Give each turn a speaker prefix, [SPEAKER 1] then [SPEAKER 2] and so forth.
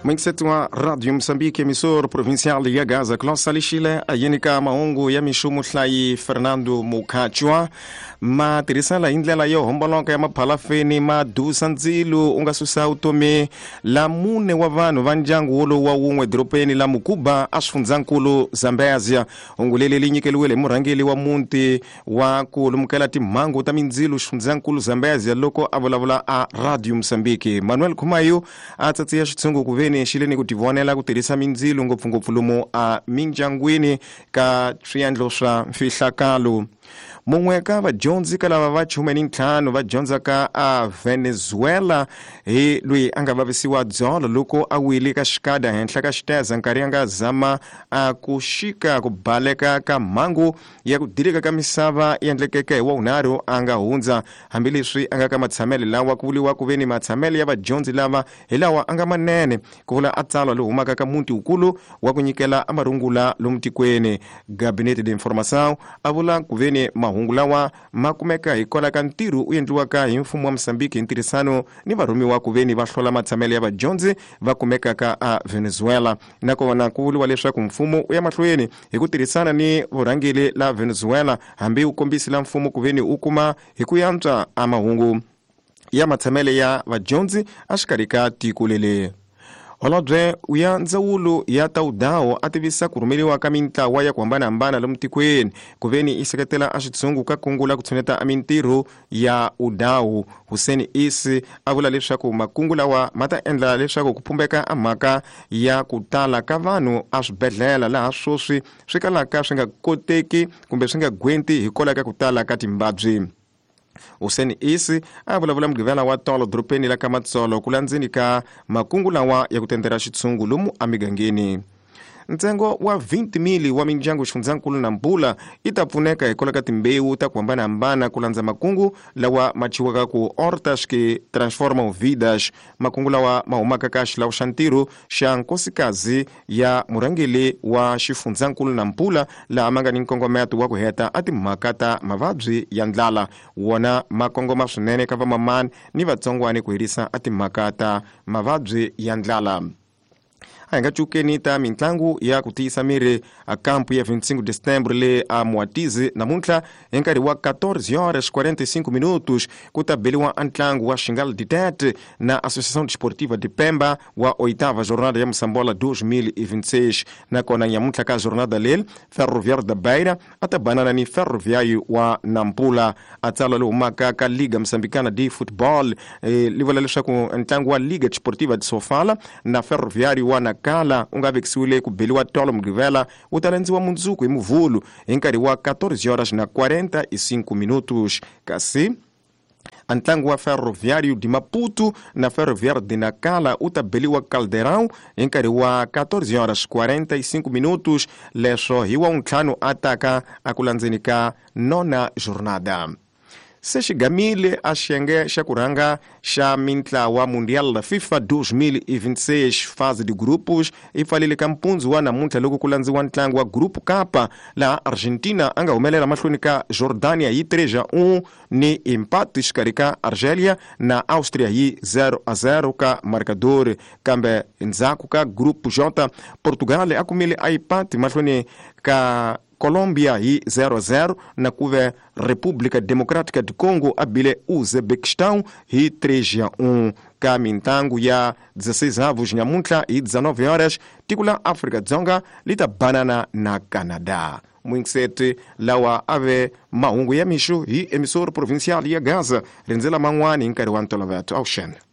[SPEAKER 1] Mwingiseti wa Radio Moçambique, emissor provincial ya Gaza, Klaus Salixile a yini ka mahungu ya mixo muhlayi Fernando Mukhachwa. Ma tirhisela hi ndlela yo homboloka ya maphalafeni ma dusa ndzilo u nga susa vutomi la mune wa vanhu va ndyangu wolowu wa wun'we dorobeni la Mukuba a swifundzhankulu Zambezia. Hungu leri li nyikeliwile hi murhangeri wa muti wa ku lumukela timhangu ta mindzilo xifundzhankulu Zambezia loko a vulavula a Radio Moçambique. Manuel Khumayo a tsatsiya xitshungu ku veni xi le ni ku tivonela ku tirhisa mindzilo ngopfungopfu lomu a mindyangwini ka swiendlo swa mfihlakalo. Mun'we ka vadyondzi ka lava va 15 va dyondzaka a Venezuela hi loyi a nga vavisiwa dzolo loko a wile ka xikada henhla ka xiteza nkarhi a nga zama a ku xika ku baleka ka mhangu ya ku dilika ka misava yi endlekeke hi wavunharhu a nga hundza. Hambileswi a nga ka matshamele lawa ku vuriwa ku ve ni matshamele ya vadyondzi lava hi lawa a nga manene, ku vula a tsalwa lowu humaka ka muti wukulu wa ku nyikela a marungula lomu tikweni. Gabinete de Informação a vula ku ve ni mahungu lawa ma kumeka hikwalaho ka ntirho u endliwaka hi mfumo wa Mozambique hi ntirhisano ni varhumiwa ku ve ni va hlola matshamele ya vadyondzi va kumekaka a Venezuela. Nakona ku vuriwa leswaku mfumo u ya mahlweni hi ku tirhisana ni vurhangeri la Venezuela hambi wu kombisile mfumo ku ve ni wu kuma hi ku yantswa a mahungu ya matshamele ya vadyondzi exikarhi ka tiko leli. Holobye ya ndzawulo ya ta vudawu a tivisa ku rhumeriwa ka mintlawa ya ku hambanahambana lomu tikweni ku ve ni yi seketela a xitshungu ka kungu la ku tshuneta a mintirho ya udawu. Hussein Isi a vula leswaku makungu lawa ma ta endla leswaku ku phumbeka a mhaka ya ku tala ka vanhu a swibedhlele laha sweswi swi kalaka swi nga koteki kumbe swi nga gwenti hikwalaho ka ku tala ka timbabyi. Hussein Isi a vulavula Mugqivela wa tolo dorobeni la ka Matsolo ku landzeni ka makungu lawa ya ku tendera xitshungu lomu emigangeni. Ntsengo wa 20,000 wa mindyangu xifundzankulu Nampula yi ta pfuneka hikwalaho ka timbewu ta ku hambanahambana ku landza makungu lawa ma thyiwaka ku Hortas que Transformam Vidas, makungu lawa ma humaka ka xilawu xa ntirho xa nkosikazi ya murhangeri wa xifundzankulu Nampula laha ma nga ni nkongometo wa ku heta a timhaka ta mavabyi ya ndlala. Wona ma kongoma swinene ka vamamani ni vatsongwani ku herisa a timhaka ta mavabyi ya ndlala. A hi nga cukeni ta mintlangu ya ku tiyisa miri a kampu ya 25 de setembro le a Moatize namuntlha hi nkarhi wa 14 horas 45 minutos ku ta beliwa a ntlangu wa Xingal Ditete na Associação Desportiva de Pemba wa oitava jornada ya Moçambola 2026. Nakona nyamuntlha ka jornada leri Ferroviário da Beira a ta banana ni Ferroviário wa Nampula. A tsalwa lowu humaka ka Liga Moçambicana de Football li vula leswaku ntlangu wa Liga Desportiva de Sofala na Ferroviário wa Nacala u nga vekisiwile ku beliwa tolo Mugqivela wu ta landziwa mundzuku hi Muvhulu hi nkarhi wa 14 horas na 45 minutos. Kasi a ntlangu wa Ferroviário de Maputo na Ferroviário de Nacala u ta beliwa Caldeirão hi nkarhi wa 14 horas 45 minutos, leswo hi wa ntlhanu a taka a ku landzeni ka nona jornada. Se xigamile a xiyenge xa ku rhanga xa mintlawa Mundial la FIFA 2026 fase de grupos yi pfalile ka mpundzu wa namuntlha loko ku landziwa ntlangu wa Group Kapa laha Argentina a nga humelela mahlweni ka Jordania hi 3-1 ni empate xikarhi ka Argelia na Austria hi 0-0 ka marcador. Kambe ndzhaku ka Group J, Portugal a kumile a empate mahlweni ka Colombia hi 0-0 na kuve República Democrática de Congo a bile Uzbekistan hi 3-1. Ka mintlangu ya 16 avos nyamuntlha hi 19 horas tiko la Afrika-Dzonga li ta banana na Canada. Mwingiseti lawa a ve mahungu ya mixo hi emissor provincial ya Gaza rindzela man'wani hi nkarhi wa ntolovelo. Awuxena.